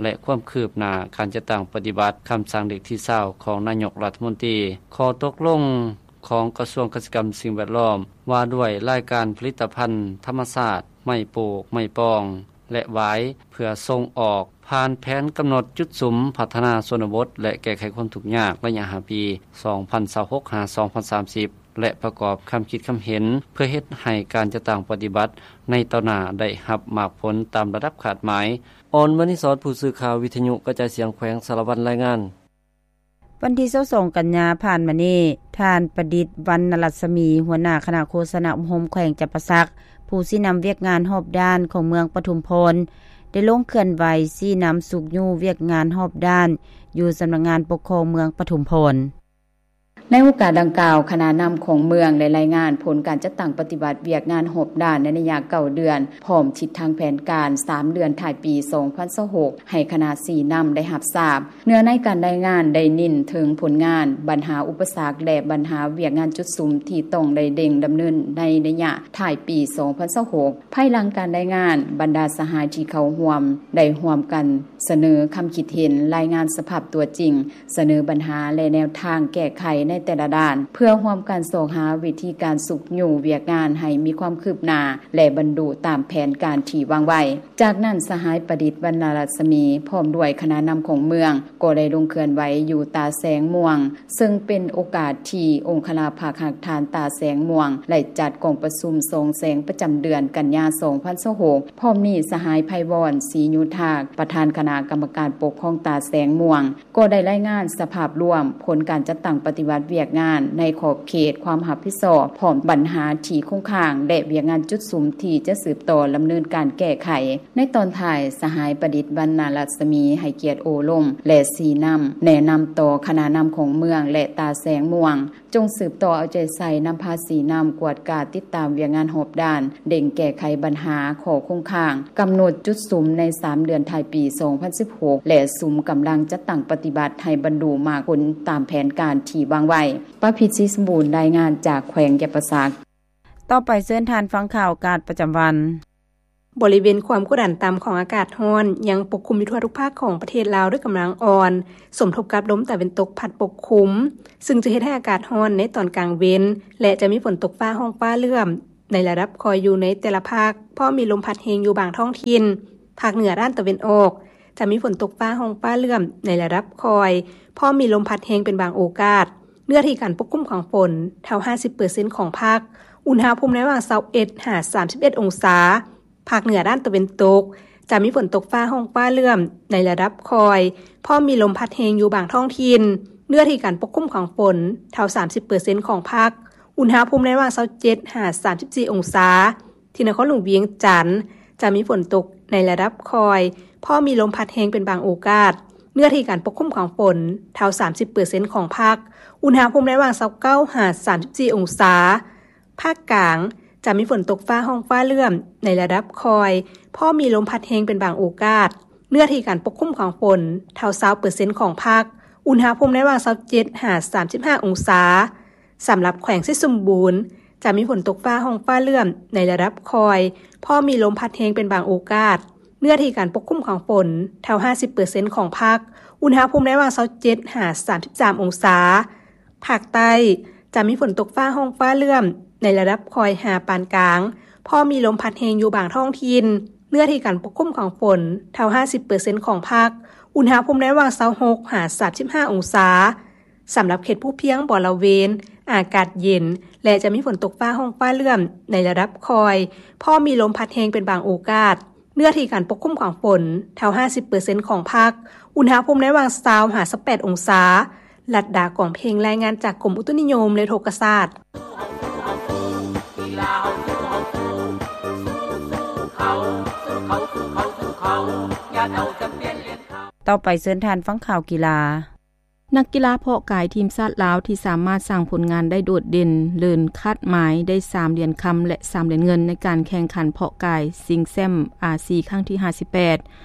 ແລະ ຄວາມຄືບໜ້າການຈັດຕັ້ງປະຕິບັດຄຳສັ່ງເລກທີຊາວຂອງນາຍົກລັດຖະມົນຕີ, ຂໍ້ຕົກລົງຂອງກະຊວງກະສິກຳ ສິ່ງແວດລ້ອມ ວ່າດ້ວຍລາຍການຜະລິດຕະພັນທຳມະຊາດ, ໄມ້ປູກ, ໄມ້ປ່ອງ ແລະ ຫວາຍ ເພື່ອສົ່ງອອກ ຜ່ານແຜນກຳນົດຈຸດສຸມພັດທະນາຊົນນະບົດ ແລະ ແກ້ໄຂຄວາມທຸກຍາກໄລຍະຫ້າປີ ສອງພັນຊາວຫົກ ຫາ ສອງພັນສາມສິບ ແລະ ປະກອບຄຳຄິດຄຳເຫັນ ເພື່ອເຮັດໃຫ້ການຈັດຕັ້ງປະຕິບັດໃນຕໍ່ໜ້າໄດ້ຮັບໝາກຜົນຕາມລະດັບຄາດໝາຍ. ອອນ ມະນີສອນ ຜູ້ສື່ຂ່າວວິທະຍຸກະຈາຍສຽງແຂວງສາລະວັນ ລາຍງານ. ວັນທີຊາວສອງ ກັນຍາຜ່ານມານີ້, ທ່ານ ປະດິດ ວັນນະລັດສະໝີ ຫົວໜ້າຄະນະໂຄສະນາອົບຮົມແຂວງຈຳປາສັກ, ຜູ້ຊີ້ນຳວຽກງານຮອບດ້ານຂອງເມືອງປະທຸມພອນ ໄດ້ລົງເຄື່ອນໄຫວຊີ້ນຳຊຸກຍູ້ວຽກງານຮອບດ້ານ ຢູ່ສຳນັກງານປົກຄອງເມືອງປະທຸມພອນ. ໃນໂອກາດດັ່ງກ່າວ, ຄະນະນຳຂອງເມືອງໄດ້ລາຍງານຜົນການຈັດຕັ້ງປະຕິບັດວຽກງານຮອບດ້ານໃນໄລຍະເກົ້າເດືອນ, ພ້ອມທິດທາງແຜນການສາມເດືອນທ້າຍປີສອງພັນຊາວຫົກ ໃຫ້ຄະນະຊີ້ນຳໄດ້ຮັບຊາບ. ເນື້ອໃນການລາຍງານໄດ້ເນັ້ນເຖິງຜົນງານ, ບັນຫາ, ອຸປະສັກ ແລະ ບັນຫາວຽກງານຈຸດສຸມທີ່ຕ້ອງໄດ້ເລັ່ງດຳເນີນໃນໄລຍະທ້າຍປີສອງພັນຊາວຫົກ. ພາຍຫຼັງການລາຍງານ, ບັນດາສະຫາຍທີ່ເຂົ້າຮ່ວມໄດ້ຮ່ວມກັນສະເໜີຄຳຄິດເຫັນ, ລາຍງານສະພາບຕົວຈິງ, ສະເໜີບັນຫາ ແລະ ແນວທາງແກ້ໄຂໃນແຕ່ລະດ້ານ, ເພື່ອຮ່ວມກັນຊອກຫາວິທີການຊຸກຍູ້ວຽກງານໃຫ້ມີຄວາມຄືບໜ້າ ແລະ ບັນລຸຕາມແຜນການທີ່ວາງໄວ້. ຈາກນັ້ນ, ສະຫາຍ ປະດິດ ວັນນະລັດສະໝີ ພ້ອມດ້ວຍຄະນະນຳຂອງເມືອງ ກໍໄດ້ລົງເຄື່ອນໄຫວຢູ່ຕາແສງມ່ວງ, ເຊິ່ງເປັນໂອກາດທີ່ອົງຄະລັກພັກຮັກທ່ານຕາແສງມ່ວງ ໄດ້ຈັດກອງປະຊຸມສ່ອງແສງປະຈຳເດືອນກັນຍາສອງພັນຊາວຫົກ. ພ້ອມນີ້, ສະຫາຍ ໄພວອນ ສີໂຍທາກ ປະທານຄະນະກຳມະການປົກຄອງຕາແສງມ່ວງ ກໍໄດ້ລາຍງານສະພາບລວມຜົນການຈັດຕັ້ງປະຕິບັດວຽກງານໃນຂອບເຂດຄວາມຮັບຜິດຊອບ, ພ້ອມບັນຫາທີ່ຄົງຄ້າງ ແລະ ວຽກງານຈຸດສຸມທີ່ຈະສືບຕໍ່ດຳເນີນການແກ້ໄຂ. ໃນຕອນທ້າຍ, ສະຫາຍ ປະດິດ ວັນນະລັດສະໝີ ໃຫ້ກຽດໂອ້ລົມ ແລະ ຊີ້ນຳແນະນຳຕໍ່ຄະນະນຳຂອງເມືອງ ແລະ ຕາແສງມ່ວງ ຈົ່ງສືບຕໍ່ເອົາໃຈໃສ່ນຳພາຊີ້ນຳກວດກາຕິດຕາມວຽກງານຮອບດ້ານ, ເລັ່ງແກ້ໄຂບັນຫາຂໍ້ຄົງຄ້າງ, ກຳນົດຈຸດສຸມໃນສາມເດືອນທ້າຍປີສອງພັນສິບຫົກ ແລະ ສຸມກຳລັງຈັດຕັ້ງປະຕິບັດໃຫ້ບັນລຸໝາກຜົນຕາມແຜນການທີ່ວາງໄວ້. ປະພິດ ສີສົມບູນ ລາຍງານຈາກແຂວງຈຳປາສັກ. ຕໍ່ໄປເຊີນທ່ານຟັງຂ່າວອາກາດປະຈຳວັນ. ບໍລິເວນຄວາມກົດດັນຕ່ຳຂອງອາກາດຮ້ອນຍັງປົກຄຸມຢູ່ທົ່ວທຸກພາກຂອງປະເທດລາວດ້ວຍກຳລັງອ່ອນ, ສົມທົບກັບລົມຕາເວັນຕົກພັດປົກຄຸມ, ຊຶ່ງຈະເຮັດໃຫ້ອາກາດຮ້ອນໃນຕອນກາງເວັນ ແລະ ຈະມີຝົນຕົກຟ້າຮ້ອງຟ້າເຫຼື້ອມໃນລະດັບຄ່ອຍຢູ່ໃນແຕ່ລະພາກ, ພ້ອມມີລົມພັດແຮງຢູ່ບາງທ້ອງຖິ່ນ. ພາກເໜືອດ້ານຕາເວັນອອກ ຈະມີຝົນຕົກຟ້າຮ້ອງຟ້າເຫຼື້ອມໃນລະດັບຄ່ອຍ, ພ້ອມມີລົມພັດແຮງເປັນບາງໂອກາດ. ເນື້ອທີ່ການປົກຄຸມຂອງຝົນເທົ່າຫ້າສິບເປີເຊັນຂອງພາກ, ອຸນຫະພູມໃນລະຫວ່າງຊາວເອັດຫາສາມສິບເອັດອົງສາ. ພາກເໜືອດ້ານຕາເວັນຕົກ ຈະມີຝົນຕົກຟ້າຮ້ອງຟ້າເຫຼື້ອມໃນລະດັບຄ່ອຍ, ພ້ອມມີລົມພັດແຮງຢູ່ບາງທ້ອງຖິ່ນ. ເນື້ອທີ່ການປົກຄຸມຂອງຝົນເທົ່າສາມສິບເປີເຊັນຂອງພາກ, ອຸນຫະພູມໃນລະຫວ່າງຊາວເຈັດຫາສາມສິບສີ່ອົງສາ. ທີ່ນະຄອນຫຼວງວຽງຈັນ ຈະມີຝົນຕົກໃນລະດັບຄ່ອຍ, ພໍມີລົມພັດແຮງເປັນບາງໂອກາດ. ເນື້ອທີ່ການປົກຄຸມຂອງຝົນ ເທົ່າສາມສິບເປີເຊັນຂອງພາກ, ອຸນຫະພູມໃນລະຫວ່າງຊາວເກົ້າຫາສາມສິບສີ່ອົງສາ. ພາກກາງ ຈະມີຝົນຕົກຟ້າຮ້ອງຟ້າເຫຼື້ອມໃນລະດັບຄ່ອຍ, ພໍມີລົມພັດແຮງເປັນບາງໂອກາດ. ເນື້ອທີ່ການປົກຄຸມຂອງຝົນ ເທົ່າຊາວເປີເຊັນຂອງພາກ, ອຸນຫະພູມໃນລະຫວ່າງຊາວເຈັດຫາສາມສິບຫ້າອົງສາ. ສຳລັບແຂວງໄຊສົມບູນ ຈະມີຝົນຕົກຟ້າຮ້ອງຟ້າເຫຼື້ອມໃນລະດັບຄ່ອຍ, ພໍມີລົມພັດແຮງເປັນບາງໂອກາດ. ເນື້ອທີ່ການປົກຄຸມຂອງຝົນ ເທົ່າຫ້າສິບເປີເຊັນຂອງພາກ, ອຸນຫະພູມໃນລະຫວ່າງຊາວເຈັດຫາສາມສິບສາມອົງສາ. ພາກໃຕ້ ຈະມີຝົນຕົກຟ້າຮ້ອງຟ້າເຫຼື້ອມໃນລະດັບຄ່ອຍຫາປານກາງ, ພໍມີລົມພັດແຮງຢູ່ບາງທ້ອງຖິ່ນ. ເນື້ອທີ່ການປົກຄຸມຂອງຝົນ ເທົ່າຫ້າສິບເປີເຊັນຂອງພາກ, ອຸນຫະພູມໃນລະຫວ່າງຊາວຫົກຫາສາມສິບຫ້າອົງສາ. ສຳລັບເຂດພູພຽງບໍລະເວນ ອາກາດເຢັນ ແລະ ຈະມີຝົນຕົກຟ້າຮ້ອງຟ້າເຫຼື້ອມໃນລະດັບຄ່ອຍ, ພໍມີລົມພັດແຮງເປັນບາງໂອກາດ. ເນື້ອທີ່ການປົກຄຸມຂອງຝົນ ເທົ່າຫ້າສິບເປີເຊັນຂອງພາກ, ອຸນຫະພູມໃນລະຫວ່າງຊາວຫາຊາວແປດອົງສາ. ລັດດາ ກອງເພັງ ລາຍງານຈາກກົມອຸຕຸນິຍົມ ແລະ ອຸທົກກະສາດ. ຕໍ່ໄປເຊີນທ່ານຟັງຂ່າວກິລາ. ນັກກິລາເພາະກາຍທີມຊາດລາວທີ່ສາມາດສ້າງຜົນງານໄດ້ໂດດເດັ່ນເລີນຄາດໝາຍ ໄດ້ສາມຫຼຽນຄຳ ແລະ ສາມຫຼຽນເງິນ ໃນການແຂ່ງຂັນເພາະກາຍຊິງແຊ້ມອາຊີຄັ້ງທີຫ້າສິບແປດ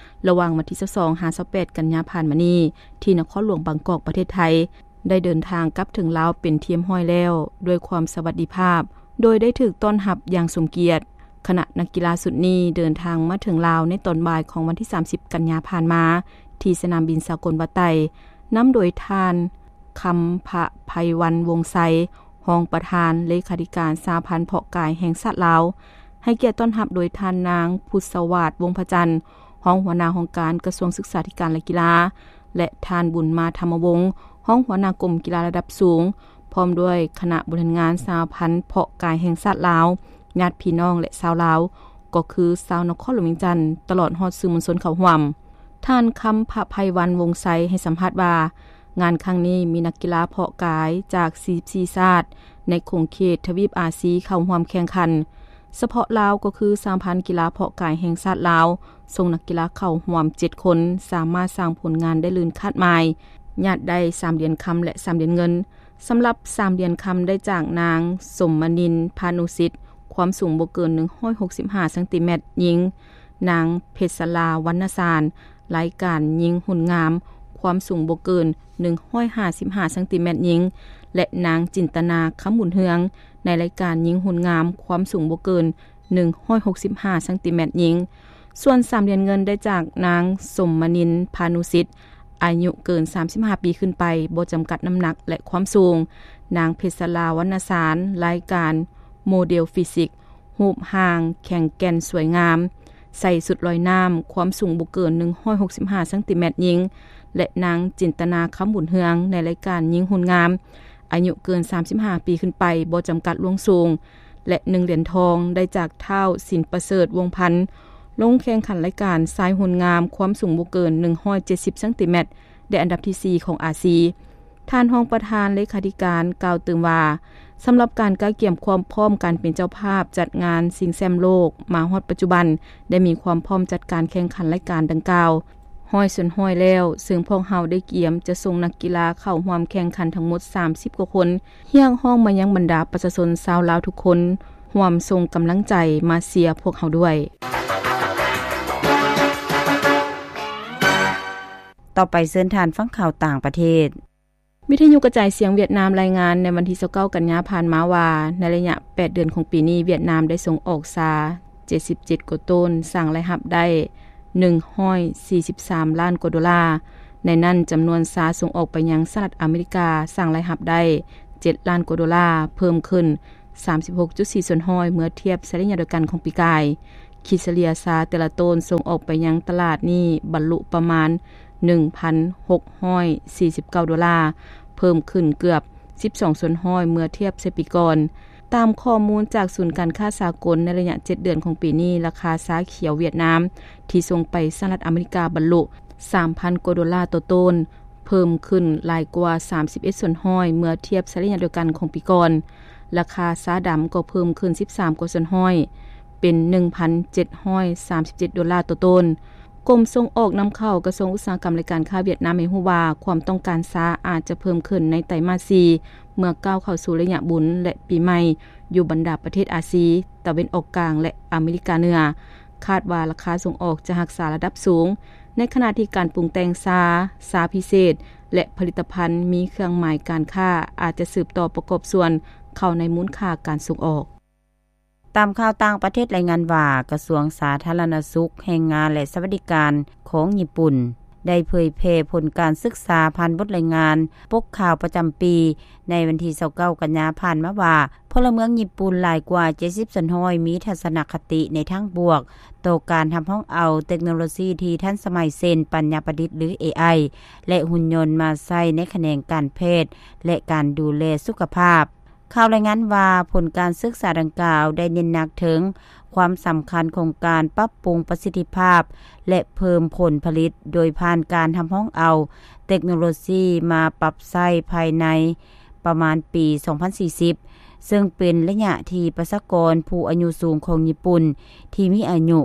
ລະຫວ່າງວັນທີຊາວສອງຫາຊາວແປດກັນຍາຜ່ານມານີ້ ທີ່ນະຄອນຫຼວງບາງກອກ ປະເທດໄທ ໄດ້ເດີນທາງກັບເຖິງລາວເປັນທີ່ຮຽບຮ້ອຍແລ້ວ ດ້ວຍຄວາມສະຫວັດດີພາບ ໂດຍໄດ້ຖືກຕ້ອນຮັບຢ່າງສົມກຽດ. ຄະນະນັກກິລາຊຸດນີ້ເດີນທາງມາເຖິງລາວໃນຕອນບ່າຍຂອງວັນທີສາມສິບກັນຍາຜ່ານມາ ທີ່ສະໜາມບິນສາກົນວັດໄຕ, ນຳໂດຍທ່ານ ຄຳພະໄພວັນ ວົງໄຊ ຮອງປະທານເລຂາທິການສະຫະພັນເພາະກາຍແຫ່ງຊາດລາວ, ໃຫ້ກຽດຕ້ອນຮັບໂດຍທ່ານນາງ ພຸດສະຫວາດ ວົງພະຈັນ ຮອງຫົວໜ້າຫ້ອງການກະຊວງສຶກສາທິການ ແລະ ກິລາ ແລະ ທ່ານ ບຸນມາ ທຳມະວົງ ຮອງຫົວໜ້າກົມກິລາລະດັບສູງ ພ້ອມດ້ວຍຄະນະບໍລິຫານງານສະຫະພັນເພາະກາຍແຫ່ງຊາດລາວ, ຍາດພີ່ນ້ອງ ແລະ ຊາວລາວ ກໍຄືຊາວນະຄອນຫຼວງວຽງຈັນ ຕະຫຼອດຮອດສື່ມວນຊົນເຂົ້າຮ່ວມ. ທ່ານ ຄຳພະໄພວັນ ວົງໄຊ ໃຫ້ສຳພາດວ່າ, ງານຄັ້ງນີ້ມີນັກກິລາເພາະກາຍຈາກສີ່ສິບສີ່ຊາດ ໃນຂົງເຂດທະວີບອາຊີເຂົ້າຮ່ວມແຂ່ງຂັນ. ສະເພາະລາວກໍຄືສະຫະພັນກິລາເພາະກາຍແຫ່ງຊາດລາວ ສົ່ງນັກກິລາເຂົ້າຮ່ວມເຈັດຄົນ, ສາມາດສ້າງຜົນງານໄດ້ເລີນຄາດໝາຍ, ຍາດໄດ້ສາມຫຼຽນຄຳ ແລະ ສາມຫຼຽນເງິນ. ສຳລັບສາມຫຼຽນຄຳໄດ້ຈາກນາງ ສົມມະນິນ ພານຸສິດ, ຄວາມສູງບໍ່ເກີນໜຶ່ງຮ້ອຍຫົກສິບຫ້າເຊັງຕີແມັດຍິງ, ນາງ ເພັດສະລາ ວັນນະສານ, ລາຍການຍິງຫຸນງາມ, ຄວາມສູງບໍ່ເກີນໜຶ່ງຮ້ອຍຫ້າສິບຫ້າເຊັງຕີແມັດຍິງ ແລະ ນາງ ຈິນຕະນາ ຄຳບຸນເຮືອງ, ໃນລາຍການຍິງຫຸນງາມ, ຄວາມສູງບໍ່ເກີນໜຶ່ງຮ້ອຍຫົກສິບຫ້າເຊັງຕີແມັດຍິງ. ສ່ວນສາມຫຼຽນເງິນໄດ້ຈາກນາງ ສົມມະນິນ ພານຸສິດ, ອາຍຸເກີນສາມສິບຫ້າປີຂຶ້ນໄປ, ບໍ່ຈຳກັດນ້ຳໜັກ ແລະ ຄວາມສູງ, ນາງ ເພັດສະລາ ວັນນະສານ, ລາຍການໂມເດລຟີຊິກ, ຮູບຮ່າງແຂງແກ່ນສວຍງາມ, ໃສ່ຊຸດລອຍນ້ຳ, ຄວາມສູງບໍ່ເກີນໜຶ່ງຮ້ອຍຫົກສິບຫ້າເຊັງຕີແມັດຍິງ ແລະ ນາງ ຈິນຕະນາ ຄຳບຸນເຮືອງ, ໃນລາຍການຍິງຫຸນງາມ, ອາຍຸເກີນສາມສິບຫ້າປີຂຶ້ນໄປ, ບໍ່ຈຳກັດລ່ວງສູງ ແລະ ໜຶ່ງຫຼຽນທອງໄດ້ຈາກທ້າວ ສິນປະເສີດ ວົງພັນ, ລົງແຂ່ງຂັນລາຍການຊາຍຫຸນງາມ, ຄວາມສູງບໍ່ເກີນໜຶ່ງຮ້ອຍເຈັດສິບເຊັງຕີແມັດ, ໄດ້ອັນດັບທີສີ່ຂອງອາຊີ. ທ່ານຮອງປະທານເລຂາທິການກ່າວຕື່ມວ່າ, ສຳລັບການກະກຽມຄວາມພ້ອມການເປັນເຈົ້າພາບຈັດງານຊິງແຊ້ມໂລກມາຮອດປັດຈຸບັນ, ໄດ້ມີຄວາມພ້ອມຈັດການແຂ່ງຂັນລາຍການດັ່ງກ່າວຮ້ອຍສ່ວນຮ້ອຍແລ້ວ, ເຊິ່ງພວກເຮົາໄດ້ກຽມຈະສົ່ງນັກກິລາເຂົ້າຮ່ວມແຂ່ງຂັນທັງໝົດສາມສິບກວ່າຄົນ. ຮຽກຮ້ອງມາຍັງບັນດາປະຊາຊົນຊາວລາວທຸກຄົນ, ຮ່ວມສົ່ງກຳລັງໃຈມາເຊຍພວກເຮົາດ້ວຍ. ຕໍ່ໄປເຊີນທ່ານຟັງຂ່າວຕ່າງປະເທດ. ວິທະຍຸກະຈາຍສຽງຫວຽດນາມລາຍງານໃນວັນທີຊາວເກົ້າກັນຍາຜ່ານມາວ່າ, ໃນໄລຍະແປດເດືອນຂອງປີນີ້, ຫວຽດນາມໄດ້ສົ່ງອອກຊາເຈັດສິບເຈັດກວ່າໂຕນ, ສ້າງລາຍຮັບໄດ້ໜຶ່ງຮ້ອຍສີ່ສິບສາມລ້ານກວ່າໂດລາ. ໃນນັ້ນ, ຈຳນວນຊາສົ່ງອອກໄປຍັງສະຫະລັດອາເມລິກາ ສ້າງລາຍຮັບໄດ້ເຈັດລ້ານກວ່າໂດລາ, ເພີ່ມຂຶ້ນສາມສິບຫົກຈຸດສີ່ສ່ວນຮ້ອຍ ເມື່ອທຽບໃສ່ໄລຍະດຽວກັນຂອງປີກາຍ. ຄິດສະເລ່ຍຊາແຕ່ລະໂຕນສົ່ງອອກໄປຍັງຕະຫຼາດນີ້ບັນລຸປະມານໜຶ່ງພັນຫົກຮ້ອຍສີ່ສິບເກົ້າໂດລາ, ເພີ່ມຂຶ້ນເກືອບສິບສອງສ່ວນຮ້ອຍເມື່ອທຽບໃສ່ປີກ່ອນ. ຕາມຂໍ້ມູນຈາກສູນການຄ້າສາກົນ, ໃນໄລຍະເຈັດເດືອນຂອງປີນີ້, ລາຄາຊາຂຽວຫວຽດນາມທີ່ສົ່ງໄປສະຫະລັດອາເມລິກາບັນລຸສາມພັນກວ່າໂດລາຕໍ່ໂຕນ, ເພີ່ມຂຶ້ນຫຼາຍກວ່າສາມສິບເອັດສ່ວນຮ້ອຍເມື່ອທຽບໃສ່ໄລຍະດຽວກັນຂອງປີກ່ອນ. ລາຄາຊາດຳກໍເພີ່ມຂຶ້ນສິບສາມກວ່າສ່ວນຮ້ອຍ, ເປັນໜຶ່ງພັນເຈັດຮ້ອຍສາມສິບເຈັດໂດລາຕໍ່ໂຕນ. ກົມສົ່ງອອກນຳເຂົ້າ ກະຊວງອຸດສາຫະກຳ ແລະ ການຄ້າຫວຽດນາມ ໃຫ້ຮູ້ວ່າ ຄວາມຕ້ອງການຊາອາດຈະເພີ່ມຂຶ້ນໃນໄຕມາດສີ່ ເມື່ອກ້າວເຂົ້າສູ່ໄລຍະບຸນ ແລະ ປີໃໝ່ ຢູ່ບັນດາປະເທດອາຊີ, ຕາເວັນອອກກາງ ແລະ ອາເມລິກາເໜືອ. ຄາດວ່າລາຄາສົ່ງອອກຈະຮັກສາລະດັບສູງ, ໃນຂະນະທີ່ການປຸງແຕ່ງຊາ, ຊາພິເສດ ແລະ ຜະລິດຕະພັນມີເຄື່ອງໝາຍການຄ້າ ອາດຈະສືບຕໍ່ປະກອບສ່ວນເຂົ້າໃນມູນຄ່າການສົ່ງອອກ. ຕາມຂ່າວຕ່າງປະເທດລາຍງານວ່າ ກະຊວງສາທາລະນະສຸກ, ແຮງງານ ແລະ ສະຫວັດດີການຂອງຍີ່ປຸ່ນ ໄດ້ເຜີຍແຜ່ຜົນການສຶກສາຜ່ານບົດລາຍງານປົກຂ່າວປະຈຳປີ ໃນວັນທີຊາວເກົ້າ ກັນຍາຜ່ານມາວ່າ ພົນລະເມືອງຍີ່ປຸ່ນຫຼາຍກວ່າເຈັດສິບສ່ວນຮ້ອຍ ມີທັດສະນະຄະຕິໃນທາງບວກຕໍ່ການຮັບຮອງເອົາເຕັກໂນໂລຊີທີ່ທັນສະໄໝ ເຊັ່ນ ປັນຍາປະດິດ ຫຼື ເອໄອ ແລະ ຫຸ່ນຍົນມາໃຊ້ໃນຂະແໜງການແພດ ແລະ ການດູແລສຸຂະພາບ. ຂ່າວລາຍງານວ່າ ຜົນການສຶກສາດັ່ງກ່າວໄດ້ເນັ້ນໜັກເຖິງຄວາມສຳຄັນຂອງການປັບປຸງປະສິດທິພາບ ແລະ ເພີ່ມຜົນຜະລິດ ໂດຍຜ່ານການຮັບຮອງເອົາເຕັກໂນໂລຊີມາປັບໃຊ້ພາຍໃນປະມານປີສອງພັນສີ່ສິບ ເຊິ່ງເປັນໄລຍະທີ່ປະຊາກອນຜູ້ອາຍຸສູງຂອງຍີ່ປຸ່ນທີ່ມີອາຍຸ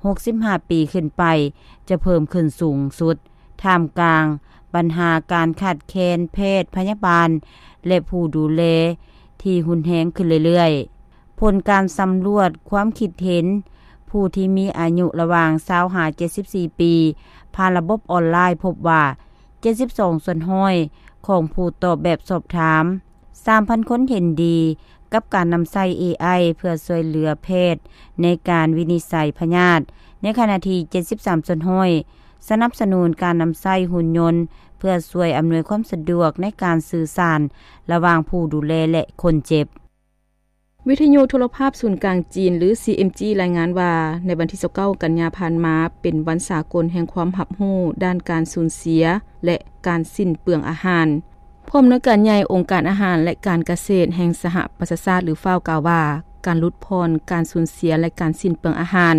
ຫົກສິບຫ້າປີຂຶ້ນໄປ ຈະເພີ່ມຂຶ້ນສູງສຸດ ທ່າມກາງບັນຫາການຂາດແຄນແພດພະຍາບານ ແລະ ຜູ້ດູແລທີ່ຮຸນແຮງຂຶ້ນເລື້ອຍໆ. ຜົນການສຳຫຼວດຄວາມຄິດເຫັນຜູ້ທີ່ມີອາຍຸລະຫວ່າງຊາວຫາເຈັດສິບສີ່ປີ ຜ່ານລະບົບອອນລາຍ ພົບວ່າ ເຈັດສິບສອງສ່ວນຮ້ອຍຂອງຜູ້ຕອບແບບສອບຖາມ ສາມພັນຄົນເຫັນດີກັບການນຳໃຊ້ເອໄອເພື່ອຊ່ວຍເຫຼືອແພດໃນການວິນິດໄສພະຍາດ, ໃນຂະນະທີ່ເຈັດສິບສາມສ່ວນຮ້ອຍສະໜັບສະໜູນການນຳໃຊ້ຫຸ່ນຍົນເພື່ອຊ່ວຍອຳນວຍຄວາມສະດວກໃນການສື່ສານລະຫວ່າງຜູ້ດູແລ ແລະ ຄົນເຈັບ. ວິທະຍຸໂທລະພາບສູນກາງຈີນ ຫຼື ຊີເອັມຈີ ລາຍງານວ່າ ໃນວັນທີຊາວເກົ້າ ກັນຍາຜ່ານມາ ເປັນວັນສາກົນແຫ່ງຄວາມຮັບຮູ້ດ້ານການສູນເສຍ ແລະ ການສິ້ນເປືອງອາຫານ. ຜູ້ອຳນວຍການໃຫຍ່ອົງການອາຫານ ແລະ ການກະເສດແຫ່ງສະຫະປະຊາຊາດ ຫຼື ເຟາ ກ່າວວ່າ ການຫຼຸດຜ່ອນການສູນເສຍ ແລະ ການສິ້ນເປືອງອາຫານ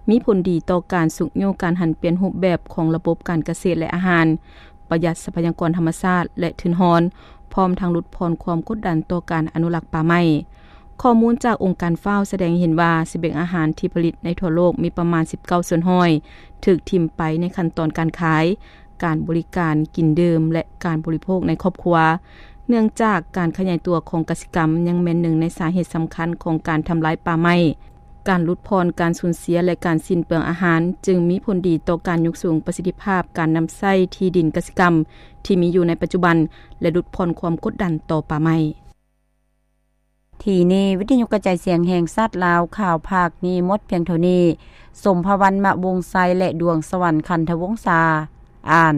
ມີຜົນດີຕໍ່ການຊຸກຍູ້ການຫັນປ່ຽນຮູບແບບຂອງລະບົບການກະເສດ ແລະ ອາຫານ, ປະຢັດຊັບພະຍາກອນທຳມະຊາດ ແລະ ທຶນຮອນ, ພ້ອມທັງຫຼຸດຜ່ອນຄວາມກົດດັນຕໍ່ການອະນຸລັກປ່າໄມ້. ຂໍ້ມູນຈາກອົງການ ເຟາ ສະແດງໃຫ້ເຫັນວ່າ ສະບຽງອາຫານທີ່ຜະລິດໃນທົ່ວໂລກມີປະມານສິບເກົ້າສ່ວນຮ້ອຍຖືກຖິ້ມໄປໃນຂັ້ນຕອນການຂາຍ, ການບໍລິການ, ກິນດື່ມ ແລະ ການບໍລິໂພກໃນຄອບຄົວ, ເນື່ອງຈາກການຂະຫຍາຍຕົວຂອງກະສິກຳຍັງແມ່ນໜຶ່ງໃນສາເຫດສຳຄັນຂອງການທຳລາຍປ່າໄມ້. ການຫຼຸດຜ່ອນການສູນເສຍ ແລະ ການສິ້ນເປືອງອາຫານ ຈຶ່ງມີຜົນດີຕໍ່ການຍົກສູງປະສິດທິພາບການນຳໃຊ້ທີ່ດິນກະສິກຳທີ່ມີຢູ່ໃນປັດຈຸບັນ ແລະ ຫຼຸດຜ່ອນຄວາມກົດດັນຕໍ່ປ່າໄມ້. ທີ່ນີ້ ວິທະຍຸກະຈາຍສຽງແຫ່ງຊາດລາວ ຂ່າວພາກນີ້ໝົດພຽງເທົ່ານີ້. ສົມພະວັນ ມະວົງໄຊ ແລະ ດວງສະຫວັນ ຄັນທະວົງສາ ອ່ານ.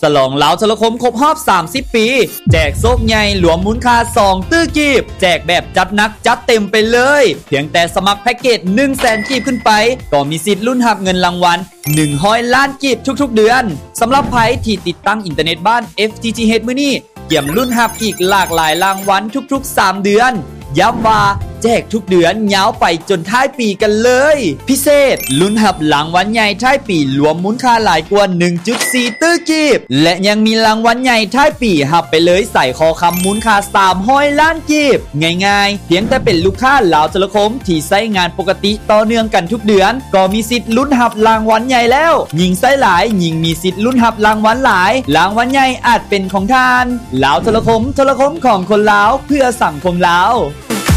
ສະຫຼອງລາວໂທລະຄົມຄົບຮອບສາມສິບປີ ແຈກໂຊກໃຫຍ່ລວມມູນຄ່າສອງຕື້ກີບ ແຈກແບບຈັດໜັກຈັດເຕັມໄປເລີຍ. ພຽງແຕ່ສະໝັກແພັກເກດໜຶ່ງແສນກີບຂຶ້ນໄປ ກໍມີສິດລຸ້ນຮັບເງິນລາງວັນ ໜຶ່ງຮ້ອຍລ້ານກີບທຸກໆເດືອນ. ສຳລັບໃຜທີ່ຕິດຕັ້ງອິນເຕີເນັດບ້ານ ເອັຟ ທີ ທີ ເອັດ ມື້ນີ້ ກຽມລຸ້ນຮັບອີກຫຼາກຫຼາຍລາງວັນທຸກໆສາມເດືອນ. ຢ້ຳວ່າແຈກທຸກເດືອນຍາວໄປຈົນທ້າຍປີກັນເລີຍ. ພິເສດ, ລຸ້ນຮັບລາງວັນໃຫຍ່ທ້າຍປີລວມມູນຄ່າຫຼາຍກວ່າໜຶ່ງຈຸດສີ່ຕື້ກີບ ແລະ ຍັງມີລາງວັນໃຫຍ່ທ້າຍປີຮັບໄປເລີຍສາຍຄໍຄຳມູນຄ່າສາມຮ້ອຍລ້ານກີບ. ງ່າຍໆ, ພຽງແຕ່ເປັນລູກຄ້າລາວໂທລະຄົມທີ່ໃຊ້ງານປົກກະຕິຕໍ່ເນື່ອງກັນທຸກເດືອນ ກໍມີສິດລຸ້ນຮັບລາງວັນໃຫຍ່ແລ້ວ. ຍິ່ງໃຊ້ຫຼາຍ, ຍິ່ງມີສິດລຸ້ນຮັບລາງວັນຫຼາຍ. ລາງວັນໃຫຍ່ອາດເປັນຂອງທ່ານ. ລາວໂທລະຄົມ, ໂທລະຄົມຂອງຄົນລາວ, ເພື່ອສັງຄົມລາວ.